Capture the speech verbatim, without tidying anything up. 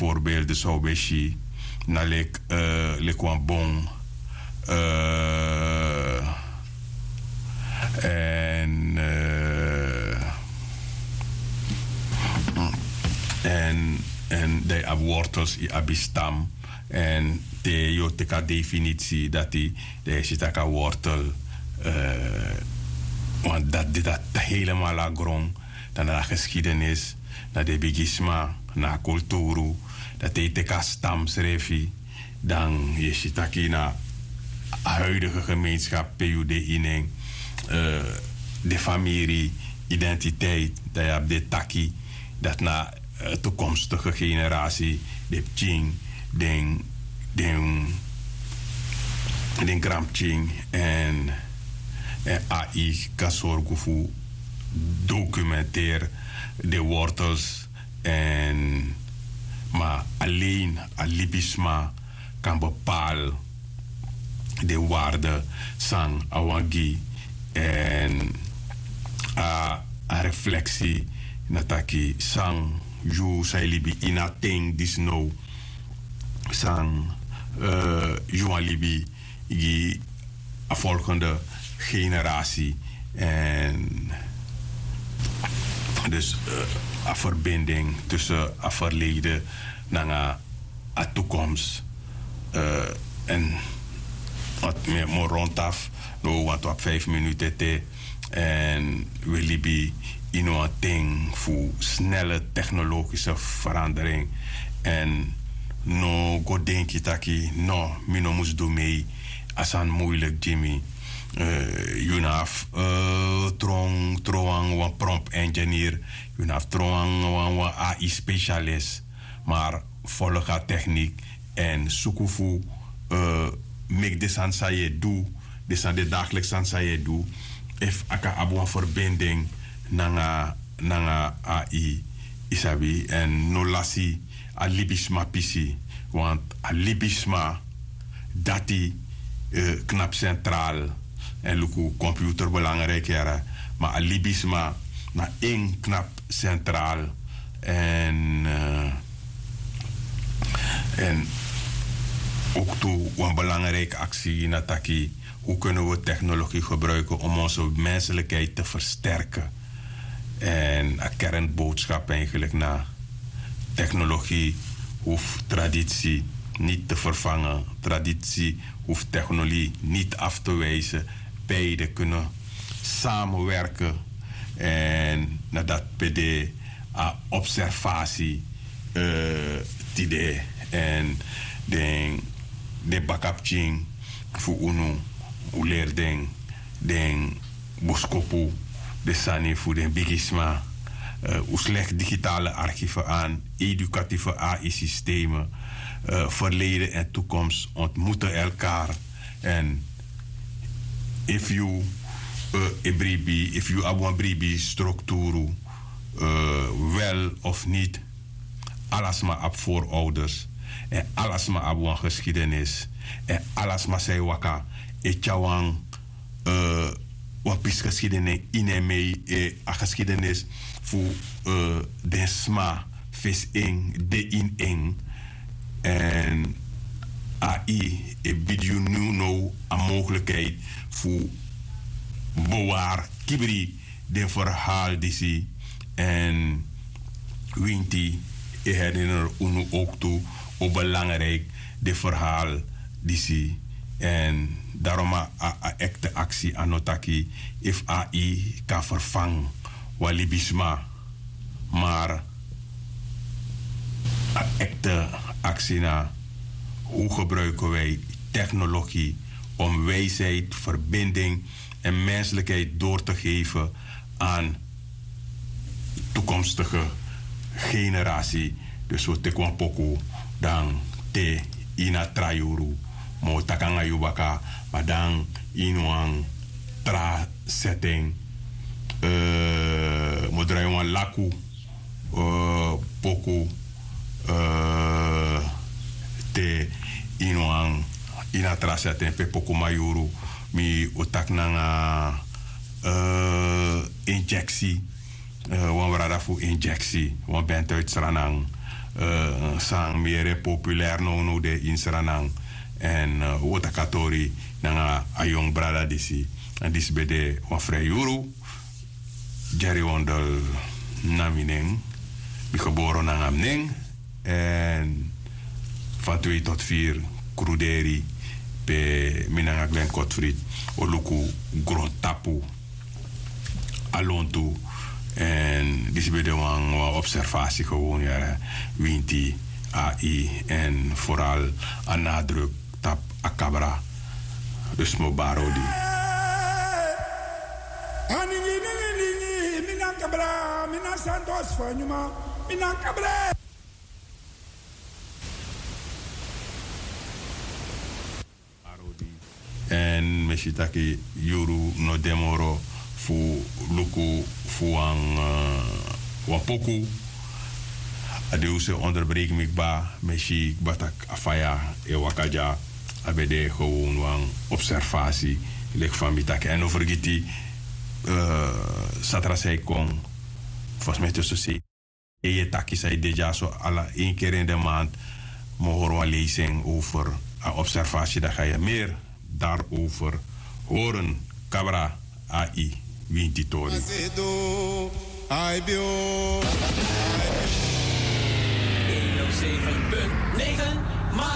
voorbeelden zou ben si na leki eh, leki wan bon eh, en eh, en en dan yu abi wortels yu abi stam en te yu o teki a definitie dati dan yu e si tak' a wortel eh, want dati de dati helemaal a gron dan na a geschiedenis na den bigisma na a kulturu dati e teki a stam srefi dan yu e si taki na a huidige gemeenskap pe yu de ini en de famiri identiteit dan yu abi de taki dati na toekomstige generatie de pikin den den den granpikin en en ai kan sorgu fu dokumenteer den wortels en ma alleen a libisma kan bepaal den waarde san a wan gi en a a refleksi na taki san yu san e libi ini a ten disi now san yu wani libi gi a volgende generatie en dus a verbinding tussen a verleden nanga a toekomst en wat mi e moro rondaf no want wi abi vijf minuten te en wi libi ini wan ten fu snelle technologische verandering en no go denki taki no mi no mus du mei a sani muilik gi mi yu no abi tron tron wan prompt engineer yu no abi tron wan ai specialist maar volg a techniek en suku fu meki den sani san yu e du den sani den dagelijks sani san yu e du efu a kan abi wan verbinding nanga nanga ai yu sabi en no lasi a libisma pisi want a libisma dati knapu sentraal en luku computer belangrijk yara ma a libisma na en knapu sentraal en en ook tu wan belangrijk aksi na taki hoe kunnen we technologie gebruiken om onze menselijkheid te versterken en a kernboodschap eigenlijk na technologie hoeft traditie niet te vervangen traditie hoeft technologie niet af te wijzen beide kunnen samenwerken en na dat pd a observatie tide en den den bakapikin fu unu un leri den den boskopu den sani fu den bigisma un slegi digitale archive an edukatieve ai-systemen verleden en toekomst ontmoeten elkaar en efu yu e bribi efu yu abi wan bribi strukturu wel of niti ala sma abi voorouders en ala sma abi wan geskidenis en ala sma san e waka e tyari wan wan pisi geskidenis ini en mei a geskidenis fu den sma fesi en de ini en en ai e bidi yu now a mogelijkheid fu bewari kibri den verhaal disi en winti e herinner unu ook tu o belangrijk den verhaal disi en daarom a a ekte aksi a no taki efu ai kan vervang wan libisma maar a ekte aksi na hoe gebruiken wij technologie om wijsheid verbinding en menselijkheid door te geven aan toekomstige generatie dus we teki wan poku dan te ini a tra yuru ma we taki nanga yu baka ma dan ini wan tra setting mi o drai wan laku poku te ini wan ini a tra setting pe poku mayuru mi o taki nanga injeksi wan brada fu injeksi wan bent uit sranan San miyere populer nownow de ini sranan. Èn un o taki a tori nanga a yongu brada disi. Èn disi ben de wan fre yuru. Jerry Wondel na mi nen. Mi geboro nanga mi nen. Èn fan twee tot vier kruderi pe mi nanga Glenn Kotfrid o luku grontapu a lontu. Èn disi ben de wan observasi gewon yara winti a i. Èn foral a nadruk tapu a kabra. Dus mi o bari odi. Aningi ningi ningi, mi na kabra, mi na santos fanyuma, mi na kabra. Èn mi e si taki yuru no de moro fu luku fu wan poku. A di un se onderbreiki mi kba, mi e si kba taki a faya e waka dya. A ben de gewon wan observasi leki fa mi taki. Èn no fergiti, satra san e kon, fosi mi e te so sei. Yu e taki san e de dya so ala en keri ini de mand. Mi o hori wan leisi en over a observasi daki a yu meri darover. Horen kabra a i winti tori. Een nul zeven punt negen, maar